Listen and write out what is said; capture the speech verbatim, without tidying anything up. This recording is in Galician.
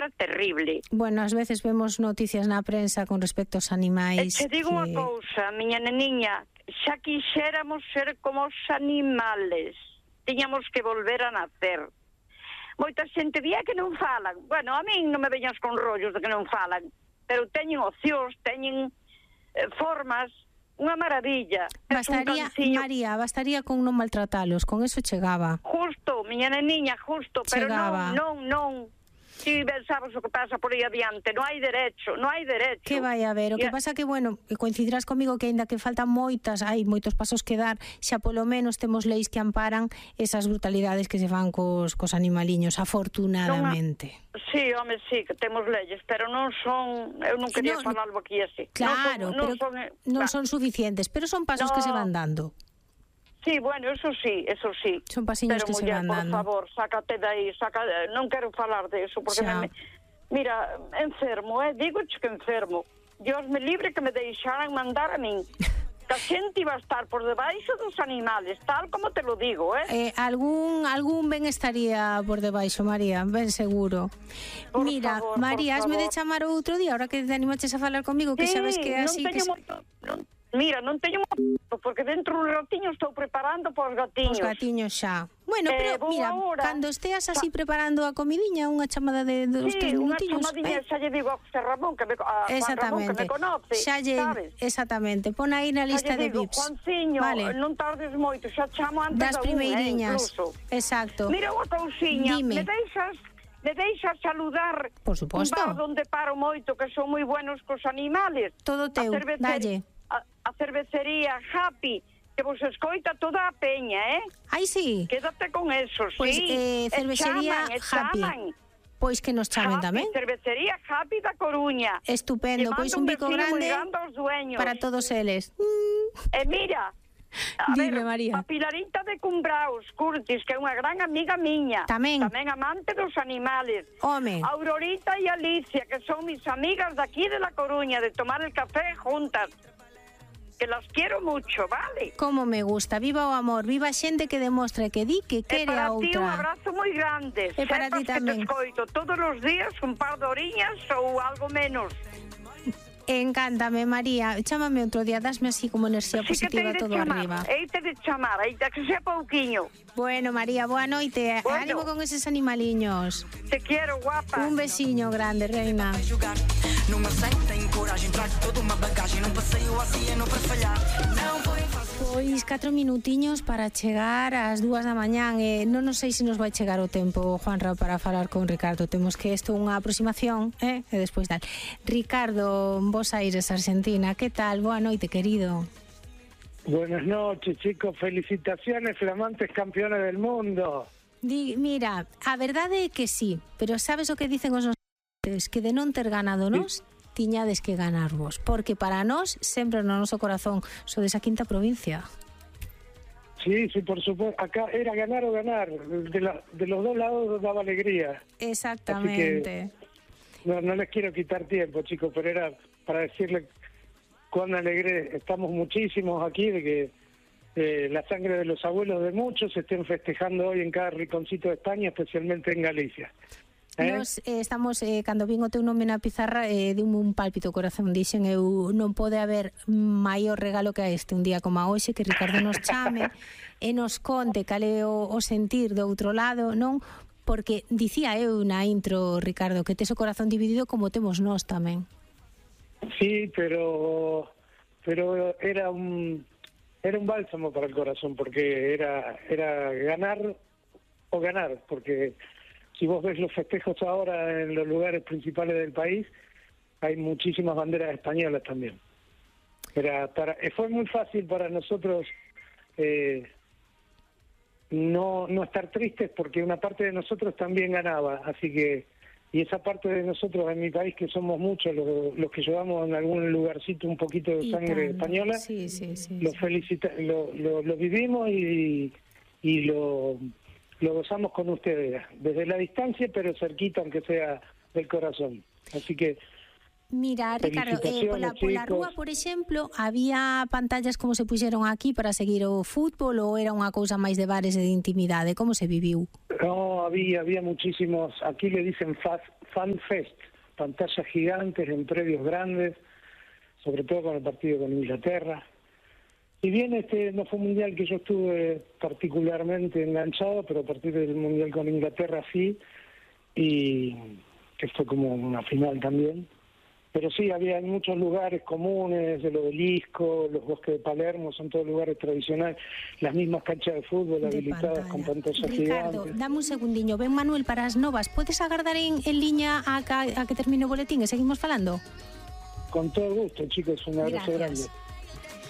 cousa terrible. Bueno, ás veces vemos noticias na prensa con respecto aos animais. E te digo que... unha cousa, miña neniña, xa quixéramos ser como os animales. Tiñamos que volver a nacer. Moita xente día que non falan. Bueno, a min non me veñas con rollos de que non falan, pero teñen opcións, teñen eh, formas, unha maravilla. Bastaría, un María, bastaría con non maltratalos, con eso chegaba. Justo, miña neniña, justo, pero chegaba. non, non, non. Si pensabas o que pasa por aí adiante, non hai derecho, non hai derecho. Que vai a ver, o que pasa que, bueno, coincidirás comigo que aínda que faltan moitas, hai moitos pasos que dar, xa polo menos temos leis que amparan esas brutalidades que se fan cos, cos animaliños, afortunadamente. Non, sí, home, sí, que temos leyes, pero non son, eu non quería no, falar algo aquí así. Claro, non son, pero non son, non va. son suficientes, pero son pasos no. que se van dando. Sí, bueno, eso sí, eso sí. Son pasiños pero, que muller, se van dando. por favor, sácate de aí, saca, non quero falar de eso, porque me, mira, enfermo, eh, digo que enfermo. Dios me libre que me deixaran mandar a min. Que a xente iba a estar por debaixo dos animales, tal como te lo digo, eh? eh algún algún ben estaría por debaixo, María, ben seguro. Por Mira, favor, María, por hasme de favor. chamar outro día, ahora que te animaches a falar comigo, que sí, sabes que así... non teño que... mo... non, mira, non teño mo... porque dentro un ratiño estou preparando para os gatiños. Os gatiños xa. Bueno, eh, pero mira, ahora, cando esteas así preparando a comidiña, unha chamada de dos sí, tres minutinhos, unha chamadinha, eh? xa lle digo a José Ramón, que me, a Juan Ramón, que me conoce, xa lle, sabes? Exactamente, pon aí na lista de digo, V I Ps. Juanciño, vale. Non tardes moito, xa chamo antes das da primeiriñas, unha, eh, exacto. Mira unha cousiña, Dime. me deixas... Me deixas saludar Por suposto. un bar onde paro moito, que son moi buenos cos animales. Todo teu, dalle. A, a cervecería Happy, que vos escoita toda a peña, eh? Ai, sí. Quédate con eso, Pues, sí. eh, cervecería e chaman, e Happy. chaman. Pois que nos chamen Happy, tamén. Cervecería Happy da Coruña. Estupendo, pois un bico grande aos dueños. para todos eles. E mira, a Dime, ver, María. a Pilarita de Cumbraos, Curtis, que é unha gran amiga miña. Tamén. Tamén amante dos animales. Home. Aurorita e Alicia, que son mis amigas de aquí de La Coruña, de tomar el café juntas. Que las quiero mucho, vale? Como me gusta, viva o amor, viva a xente que demostra que di que quere a outra. E para ti un abrazo moi grande. E para ti tamén. Que te escoito todos os días un par de oriñas ou algo menos. Encántame, María. Chámame outro día, dasme así como enerxía sí positiva todo chamar, arriba. Eite de chamar, eite que sea pouquiño. Bueno, María, boa noite. Bueno. Ánimo con eses animaliños. Te quiero, guapa. Un besiño grande, reina. Non me sentem coragem, trago toda unha bagagem, non paseo así e non para fallar. Non foi Pois catro minutiños para chegar ás dúas da mañán e non sei se nos vai chegar o tempo, Juanra, para falar con Ricardo. Temos que isto unha aproximación, eh? E despois tal. Ricardo, Bos Aires, Argentina, que tal? Boa noite, querido. Buenas noches, chicos. Felicitaciones, flamantes campeones del mundo. Di, mira, a verdade é que sí, pero sabes o que dicen os nosos que de non ter ganado nós, tiñades que ganarvos, porque para nós sempre no noso corazón sodes a quinta provincia. Sí, sí, por supuesto. Acá era ganar o ganar. De, la, de los dos lados daba alegría. Exactamente. No, no les quiero quitar tiempo, chicos, pero era para decirle cuán alegre estamos muchísimos aquí de que eh, la sangre de los abuelos de muchos se estén festejando hoy en cada rinconcito de España, especialmente en Galicia. ¿Eh? Nos eh, estamos, eh, cando vin o teu nome na pizarra, eh, diume un pálpito corazón, dixen eu, non pode haber maior regalo que a este, un día como a hoxe, que Ricardo nos chame e nos conte cal é o, o sentir do outro lado, non? Porque dicía eu na intro, Ricardo, que tes o corazón dividido como temos nós tamén. Sí, pero pero era un era un bálsamo para el corazón, porque era era ganar o ganar, porque si vos ves los festejos ahora en los lugares principales del país, hay muchísimas banderas españolas también. Era para, fue muy fácil para nosotros eh, no, no estar tristes, porque una parte de nosotros también ganaba, así que, y esa parte de nosotros en mi país, que somos muchos los, los que llevamos en algún lugarcito un poquito de sangre española, sí, sí, sí, lo, sí. felicita, lo, lo, lo vivimos y, y lo... lo gozamos con ustedes, desde la distancia, pero cerquita, aunque sea del corazón. Así que... Mira, Ricardo, eh, pola, pola rúa, por exemplo, había pantallas como se puxeron aquí para seguir o fútbol ou era unha cousa máis de bares e de intimidade? Como se viviu? No, no, había, había muchísimos, aquí le dicen fan fest, pantallas gigantes en predios grandes, sobre todo con el partido con Inglaterra. Si bien este no fue un mundial que yo estuve particularmente enganchado, pero a partir del mundial con Inglaterra sí, y que fue como una final también. Pero sí, había muchos lugares comunes, el Obelisco, los bosques de Palermo, son todos lugares tradicionales, las mismas canchas de fútbol de habilitadas pantalla. Con pantallas Ricardo, gigantes. dame un segundiño, ven Manuel para as novas, podes agardar en, en liña a, a, a que termine o boletín e seguimos falando? Con todo gusto, chicos, un abrazo Gracias. grande.